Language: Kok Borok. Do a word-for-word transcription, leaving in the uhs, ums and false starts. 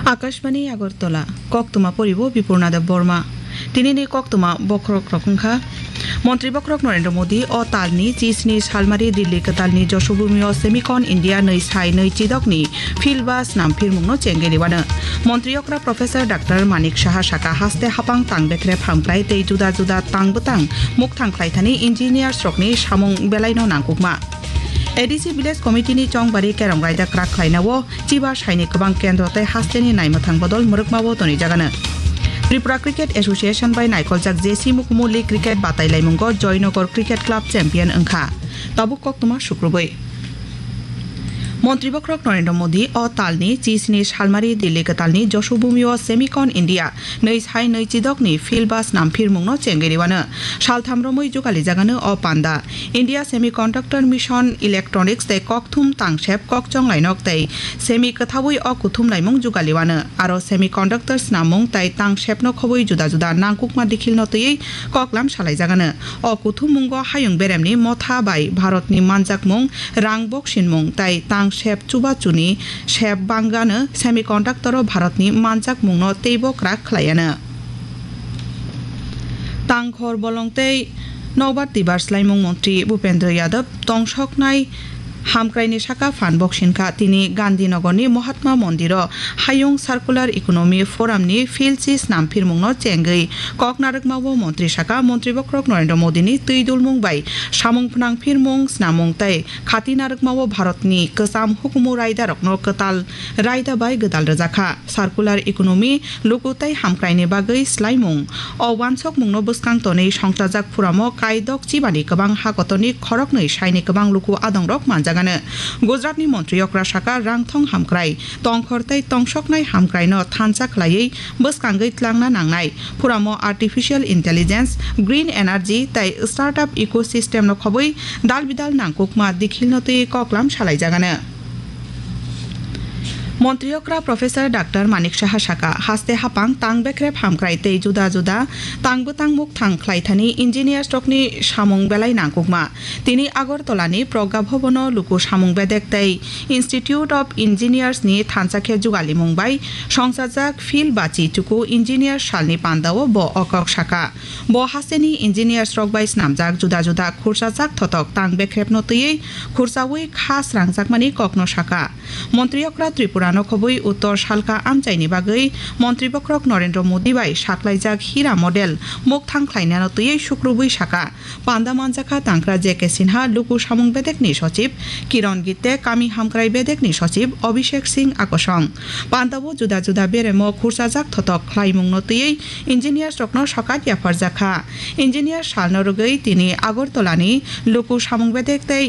Akashbani Agartala, koktwma poribo Bipurna Deb Borma. Tinini koktwma bokhorok rok wngkha. Montri bokhorok Narendra Modi o talni chisni salmari Delhi kwtalni Joshobhumi o Semicon India nwi sai nwi chidokni field ba snam phirmungno chengwi riwano. Montri okra Professor Doctor Manik Saha saka haste hapang tang bekrep hamkrai tei juda juda tang bwtang mukthang khlaithani engineers rokni samung belaino nangkukma. A D C Village Committee ni chongbari kerong raida kwrak khlainao chiba saini kwbang kendro tei hasteni naimwthang bodol mwrwkmao tonijagano. Tripura Cricket Association bai naikoljak J C Mukumu League Cricket batailaimungo Joynagar Cricket Club champion wngkha. Tabuk koktwma sukrubwi. Montri bokhorok Narendra Modi o talni chisni salmari Delhi kwtalni Joshobhumi o Semicon India nwi sai nwi chidokni field ba snam phirmungno chengwi riwano. Saltham romwi jugalijagano o panda. India Semiconductor Mission Electronics tei kokthum tangsep kokchong lainok tei semi kwthaui o kuthum laimung jugaliwano. Aro semiconductor snamung tei tangsepno khobwi juda juda nangkukma dikhilno twiwi koklam salaijagano. O kuthumungo hayung beremni motha bai Bharatni manjakmung, rang boksinmung tei tangsep chubachuni sep bangano semiconductor o Bharatni manjakmungno teibo kwrak khlaiano. Tangkhor bolong tei nokbar twibar swlaimung montri Bhupendra Yadav tongsoknai hamkraini saka phan boksinkha. Tini Gandhinagarni Mahatma Mondiro Hayung Circular Economy Forumni philchi snam phirmungno chengwi kok narwkmao montri saka montri bokhorok Narendra Modini twi dulmung bai samung phnang phirmung snamung tei khati narwkmao Bharatni kwcham hukumu raidarokno kwtal raida bai gwdal rwjakha. Circular economy, luku tei hamkraini bagwi swlaimung. O wansokmungno bwskang tonwi songchajak phuramo kaidok chibani kwbang ha kotorni khoroknwi saini kwbang luku adongrok manjagano. Gujaratni montri okra saka rangthong hamkrai, tongkhor tei tongsoknai hamkraino thansa khlaiwi bwskangwi tlangna nangnai. Phuramo artificial intelligence, green energy tei startup ecosystemno khobwi dalbidal nangkukma dikhilno twi koklam salaijagano. Montri okra Professor Doctor Manik Saha saka, haste hapang tang bekrep hamkrai tei juda juda tang bwtang mukthang khlaithani engineers rokni samung belai nangkukma. Tini Agartala ni Pragya Bhavan o luku samung bedek tei Institute of Engineers ni thansa khe jugalimung bai songchajak field bachi chuku engineer salni pandao bo o kok saka. Bo hasteni engineers rok bai snamjak juda juda khursajak thotok tang bekrepno twiwi khursaui kha srangjakmani kokno saka. Montri okra Tripura no khobwi uttor salka amchaini bagwi Montri bokhorok Narendra Modi bai saklaijak Hira model mukthang khlainano twiwi sukrubwi saka. Panda manjakha tangkra J K Sinha, luku samung bedekni sochib Kiron Gitte, kami hamkrai bedekni sochib Abhishek Singh Akosong. Pandao juda juda beremo khursajak thotok khlaimungno twiwi engineers rokno sokat yapharjakha. Engineer salno rwgwi tini Agartala ni luku samung bedek tei